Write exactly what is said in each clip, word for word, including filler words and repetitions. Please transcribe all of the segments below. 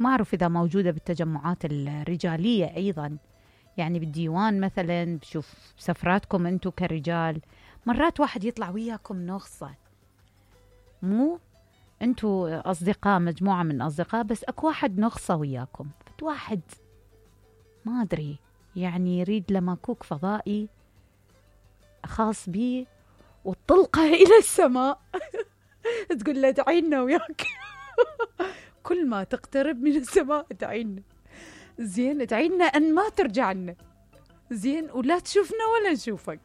ما أعرف إذا موجودة بالتجمعات الرجالية أيضا، يعني بالديوان مثلا بشوف سفراتكم أنتم كرجال مرات واحد يطلع وياكم نغصة، مو أنتم أصدقاء مجموعة من أصدقاء بس أكو واحد نغصة وياكم، واحد ما أدري يعني يريد لمكوك فضائي خاص بيه وطلقه إلى السماء تقول له ادعي لنا وياك كل ما تقترب من السماء ادعي لنا، زين ادعي لنا أن ما ترجع لنا، زين ولا تشوفنا ولا نشوفك.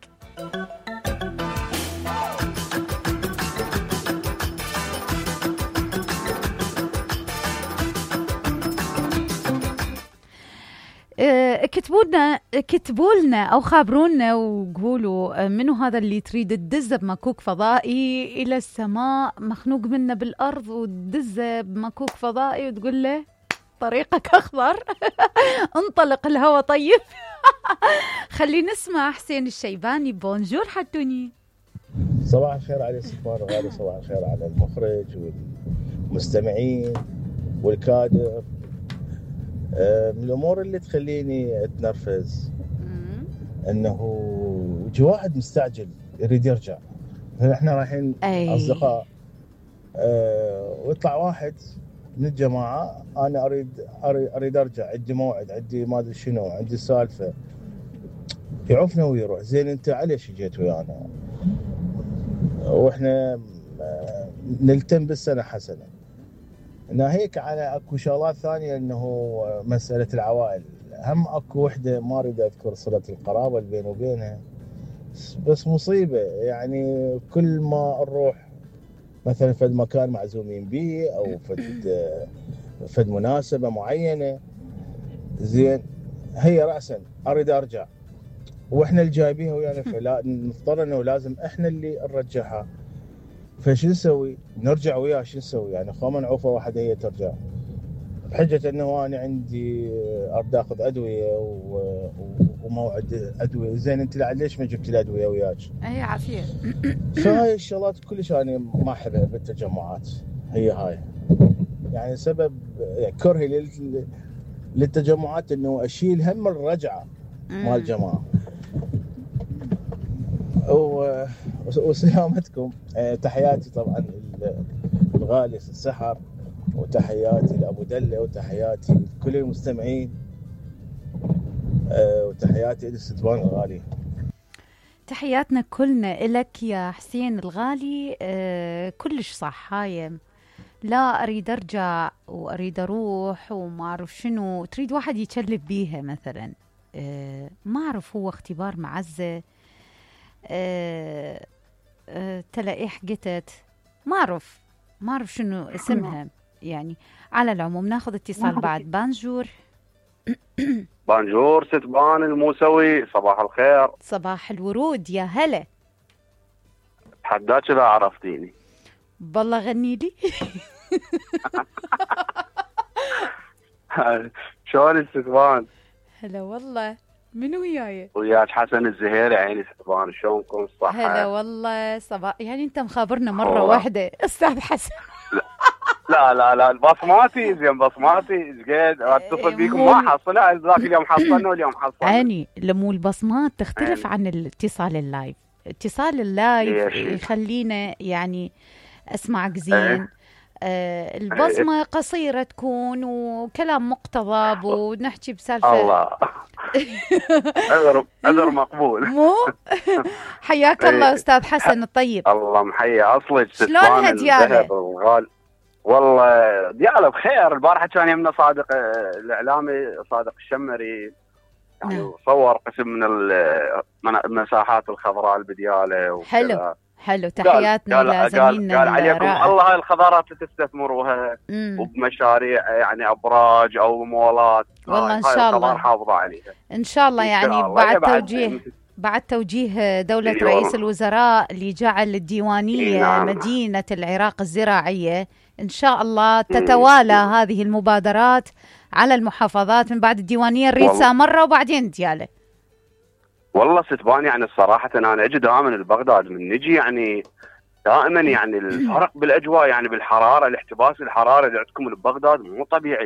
كتبوا لنا كتبوا لنا او خابرونا وقولوا منو هذا اللي تريد تدزه بمكوك فضائي الى السماء، مخنوق منه بالارض وتدزه بمكوك فضائي وتقول له طريقك اخضر انطلق الهوى طيب. خلي نسمع حسين الشيباني. بونجور حتوني. صباح الخير على سفار غالي، صباح الخير على المخرج والمستمعين والكادر. من الامور اللي تخليني اتنرفز انه يجي واحد مستعجل يريد يرجع، احنا رايحين اصدقاء أه ويطلع واحد من الجماعه انا اريد اريد ارجع، عندي موعد، عندي ما ادري شنو، عندي سالفه، يعوفنا ويروح. زين انت عليش جيت ويانا واحنا نلتم بالسنه حسنه؟ ناهيك على اكو شغلات ثانيه، انه مساله العوائل، هم اكو وحده ما اريد اذكر صله القرابه اللي بيني وبينها، بس مصيبه يعني كل ما نروح مثلا فد مكان معزومين به او فد فد مناسبه معينه، زين هي راسا اريد ارجع واحنا اللي جايبينها ويانا، فلا نضطر انه لازم احنا اللي نرجعها، فشو نسوي؟ نرجع وياه شو نسوي؟ يعني خو نعوفه واحد هي ترجع بحجه انه انا عندي اريد اخذ ادويه و... وموعد ادويه. زين انت ليش ما جبت الادويه وياك؟ اي عافيه. فهاي الشغلات كلش انا ما احبها بالتجمعات، هي هاي يعني سبب يعني كرهي لل... للتجمعات، انه اشيل هم الرجعه مال الجماعه. و... وسلامتكم. تحياتي طبعا الغالي السحر، وتحياتي لأبو دلة، وتحياتي لكل المستمعين، وتحياتي للستوان الغالي. تحياتنا كلنا إلك يا حسين الغالي. أه كلش صح. هاي لا أريد أرجع وأريد أروح وما أعرف شنو، تريد واحد يتشلف بيها مثلا. أه ما أعرف هو اختبار معزة، أه أه تلقيح قتت، ما أعرف ما أعرف شنو اسمها. يعني على العموم ناخذ اتصال بعد. بانجور. بانجور ستبان الموسوي، صباح الخير. صباح الورود، يا هلا. حداك إذا عرفتيني. بالله غني لي. شلون الستبان؟ هلا والله. منو وياي؟ وياك حسن الزهيري. عيني ستبان، شلونكم الصحة؟ هلا والله. صباح يعني انت مخابرنا مرة واحدة استاذ حسن. لا لا لا البصماتي زين، بصماتي قد اتصل بيكم ما حصلها، ذاك اليوم حصلنا واليوم حصلنا. عيني لمو البصمات تختلف عن الاتصال اللايف. اتصال اللايف يخلينا يعني اسمعك زين. آه البصمة قصيرة تكون وكلام مقتضب ونحكي بسالفة. الله. عذر عذر مقبول. مو حياك الله استاذ حسن الطيب. الله محيي اصلك. شلونها ديالة؟ والله ديالة بخير. البارحة كان يمنا صادق الاعلامي صادق الشمري، يعني صور قسم من المساحات الخضراء البديالة. حلو حلو. تحياتنا لزميلنا. قال عليكم الله الخضارات تستثمروها وبمشاريع يعني ابراج او مولات. والله ان شاء الله حافظه عليها ان شاء الله. يعني بعد توجيه بعد توجيه دولة رئيس الوزراء اللي جعل الديوانية نعم. مدينة العراق الزراعية، إن شاء الله تتوالى م. هذه المبادرات على المحافظات من بعد الديوانية نريد سامرة وبعدين ديالة. والله ستبان يعني الصراحة أنا أجي دائما لبغداد من نجي يعني دائما يعني الفرق بالأجواء، يعني بالحرارة، الاحتباس الحرارة اللي عندكم ببغداد مو طبيعي.